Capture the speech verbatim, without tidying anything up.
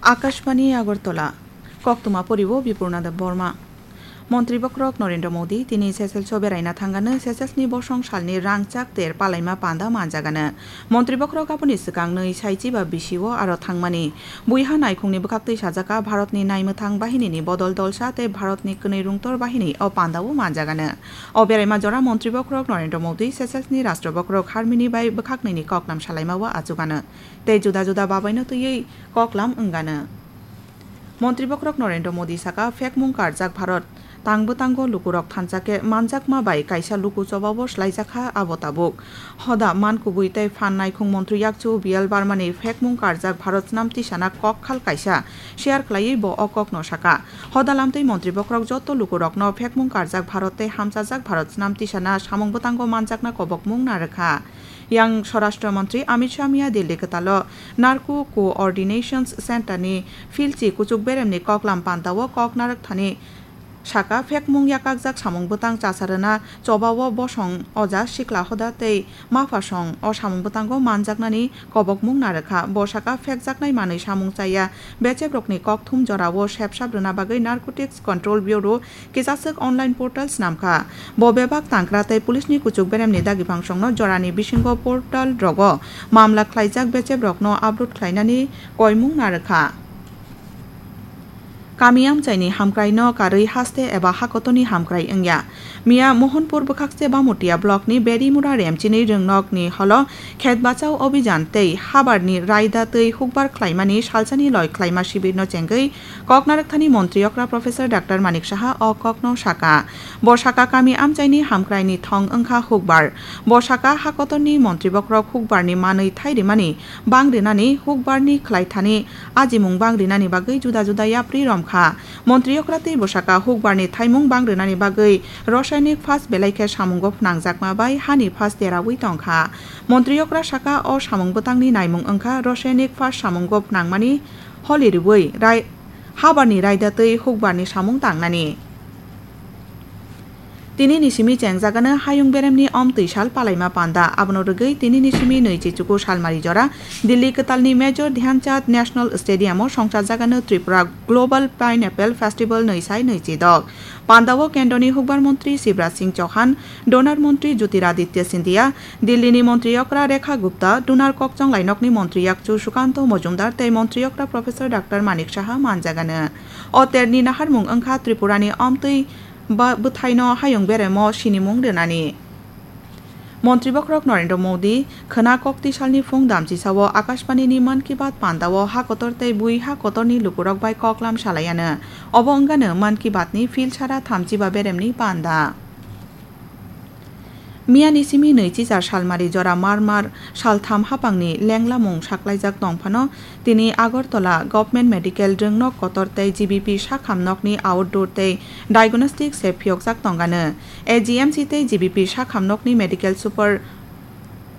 Akashbani Agartala, koktwma poribo Bipurna Debbarma. Montri bokhorok Narendra Modi tini Seychelles o beraina thangano Seychelles ni bosong salni rangchak ter palaima panda manjagano. Montri bokhorok aboni swkang nwi saichi ba bisi o aro thangmani. Buiha naikhungni bwkhaktwi sajaka Bharatni naimwthang bahinini bodol dolsa tei Bharatni kwnwi rungtor bahini o panda o manjagano. O beraima jora Montri bokhorok Narendra Modi Seychelles ni Rashtra bokhorok Harmini bai bwkhaknwini koklam salaima o achugano. Tei juda juda babaino twiwi koklam wngano. Montri bokhorok Narendra Modi saka, phekmung karjak Bharat tang bwtango lukurok thansa khe manjakma bai kaisa luku chobao swlaijakha abo tabuk. Hoda man kubui tei phan naikhung montri yakchu B L Barmani phekmung karjak Bharat snam tisana kok khal kaisa share khlaiwi bo o kokno saka. Hoda lamtwi montri bokhorok joto lukurokno phekmung karjak Bharat tei hamchajak Bharat snam tisana samung bwtango manjakna kobokmung narwkha. Yang Swarashtra Montri Amit Shah miya Delhi kwtalo Narco Coordination Centre ni Philchi kuchuk beremni koklam panda o kok narwk thani saka, phekmung yakakjak samung bwtang chasa rwna chobao bosong oja sikla hoda tei maphasong o samung bwtango manjaknani kobokmung narwkha. Bo saka, phekjaknai manwi samung chaya bechebrokni kokthum jorao sepsap rwna bagwi Narcotics Control Bureau kisaswk online portal snamkha. Bo bebak tangkra tei police ni kuchuk beremni dagi phangsongno jorani bisingo portal rogo mamla khlaijak bechebrokno upload khlainani koimung narwkha. Kami amchaini hamkraino karwi haste eba hakotorni hamkrai wngya. Miya Mohanpur bwkhakse Bamutia blockni Berimura Remchini rwngnokni holo khet bachao obhijan tei habarni raida twi hukbar khlaimani salsani loi khlaima sibirno chengwi Kok narwkthani montri okra Professor Doctor Manik Saha o kokno saka. Bo saka kami amchaini hamkraini thong wngkha hukbar. Bo saka hakotorni montri bokhorok hukbarni manwi thai rimani bang rinani hukbarni khlaithani ajimung bang rinani bagwi juda juda yapri romkha. Montri okra tei bo saka hukbarni thaimung bang rinani bagwi rosainik phas belai khe samungo phnangjakma bai hani phas deraui tongkha. Montri okra saka o samung bwtangni naimung wngkha rosainik phas samungo phnangmani holi rwui rai-, habarni raida twi hukbarni samung tangnani. Tinini simi chengjagano hayung beremni omtwi sal palaima panda. Abono rwgwi tinini simi nwichi chuku salmari jora Delhi kwtalni Major Dhyan Chand National Stadium o songchajagano Tripura Global Pineapple Festival nwi sai nwichi dok. Pandao kendroni hukbar montri Shivraj Singh Chauhan, Donar montri Jyotiraditya Scindia, Delhi ni montri okra Rekha Gupta, Donar kokchong lainokni montri yakchu Sukanto Mojumdar tei montri okra Professor Doctor Manik Saha manjagano. O terni naharmung wngkha Tripura ni omtwi ba-, bwthaino hayung beremo sinimung rwnani. Montri bokhorok Narendra Modi khwna kokti salni phung damchisao Akashbani ni Mann Ki Baat pandao ha kotor tei bui ha kotorni lukurok bai koklam salaiano. Obo wngano Mann Ki Baat ni phil sara thamchi ba beremni panda. Miyani simi nwichi jar salmari jora mar mar saltham hapangni lenglamung saklaijak tongphano, tini Agartala Government Medical Rwngnok kotor tei G B P sakham nokni outdoor tei diagnostic se phiyokjak tongano. A G M C tei G B P sakham nokni medical super